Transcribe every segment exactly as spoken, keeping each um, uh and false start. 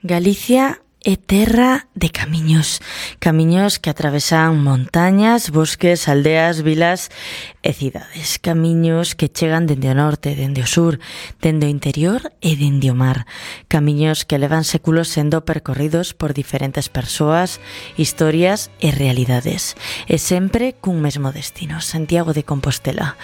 Galicia é terra de camiños, camiños que atravesan montañas, bosques, aldeas, vilas e cidades, camiños que chegan dende o norte, dende o sur, dende o interior e dende o mar, camiños que levan séculos sendo percorridos por diferentes persoas, historias e realidades, e sempre cun mesmo destino, Santiago de Compostela.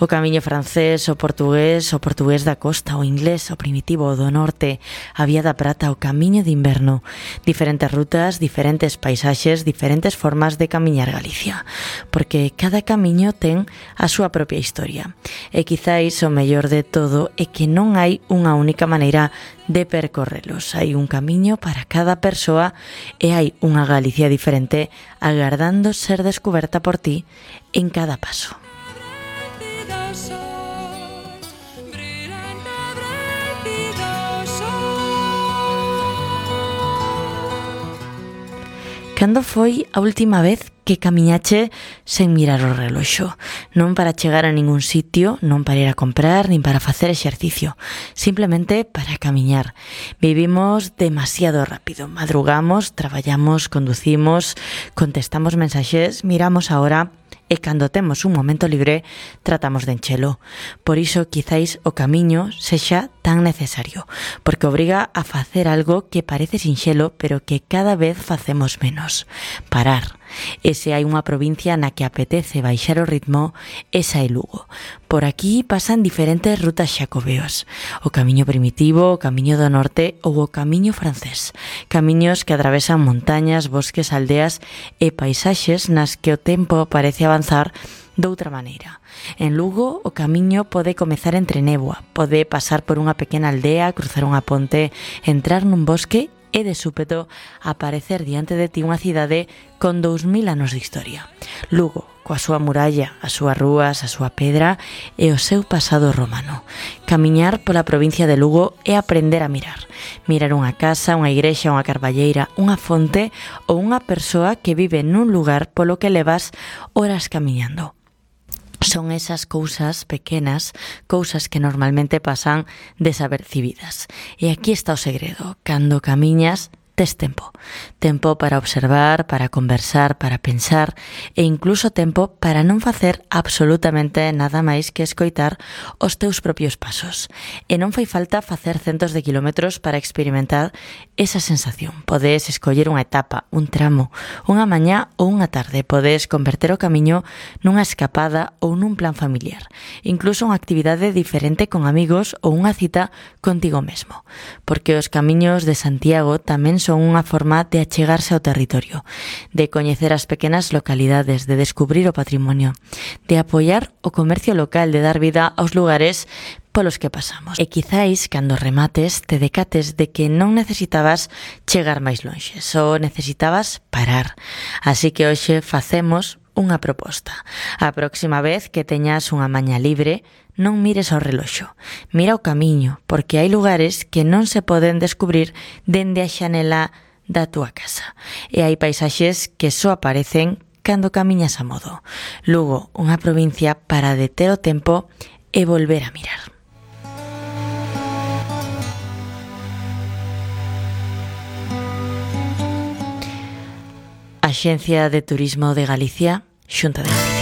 O camiño francés, o portugués, o portugués da costa, o inglés, o primitivo, o do norte, a Vía da Prata, o camiño de inverno, diferentes rutas, diferentes paisaxes, diferentes formas de camiñar Galicia, porque cada camiño ten a súa propia historia. E quizáis o mellor de todo é que non hai unha única maneira de percorrelos. Hai un camiño para cada persoa e hai unha Galicia diferente agardando ser descuberta por ti en cada paso. Cando foi a última vez que camiñache sen mirar o reloxo? Non para chegar a ningún sitio, non para ir a comprar, nin para facer exercicio, simplemente para camiñar. Vivimos demasiado rápido, madrugamos, traballamos, conducimos, contestamos mensaxes, miramos a hora e cando temos un momento libre tratamos de enchelo. Por iso quizáis o camiño sexa tan necesario, porque obriga a facer algo que parece sinxelo, pero que cada vez facemos menos: parar. E se hai unha provincia na que apetece baixar o ritmo, esa é Lugo. Por aquí pasan diferentes rutas xacobeos: o camiño primitivo, o camiño do norte ou o camiño francés. Camiños que atravesan montañas, bosques, aldeas e paisaxes nas que o tempo parece avanzar doutra maneira. En Lugo, o camiño pode comezar entre néboa, pode pasar por unha pequena aldea, cruzar unha ponte, entrar nun bosque e de súpeto aparecer diante de ti unha cidade con dous mil anos de historia. Lugo, coa súa muralla, as súas rúas, a súa pedra e o seu pasado romano. Camiñar pola provincia de Lugo é aprender a mirar. Mirar unha casa, unha igrexa, unha carballeira, unha fonte ou unha persoa que vive nun lugar polo que levas horas camiñando. Son esas cousas pequenas, cousas que normalmente pasan desapercibidas. E aquí está o segredo: cando camiñas, tes tempo. Tempo para observar, para conversar, para pensar e incluso tempo para non facer absolutamente nada máis que escoitar os teus propios pasos. E non fai falta facer centos de kilómetros para experimentar esa sensación. Podes escoller unha etapa, un tramo, unha mañá ou unha tarde. Podes converter o camiño nunha escapada ou nun plan familiar. Incluso unha actividade diferente con amigos ou unha cita contigo mesmo. Porque os camiños de Santiago tamén son unha forma de achegarse ao territorio, de coñecer as pequenas localidades, de descubrir o patrimonio, de apoiar o comercio local, de dar vida aos lugares polos que pasamos. E quizáis, cando remates, te decates de que non necesitabas chegar máis lonxe, só necesitabas parar. Así que hoxe facemos unha proposta. A próxima vez que teñas unha maña libre, non mires ao reloxo, mira o camiño, porque hai lugares que non se poden descubrir dende a xanela da túa casa. E hai paisaxes que só aparecen cando camiñas a modo. Lugo, unha provincia para deter o tempo e volver a mirar. Axencia de Turismo de Galicia, Xunta de Galicia.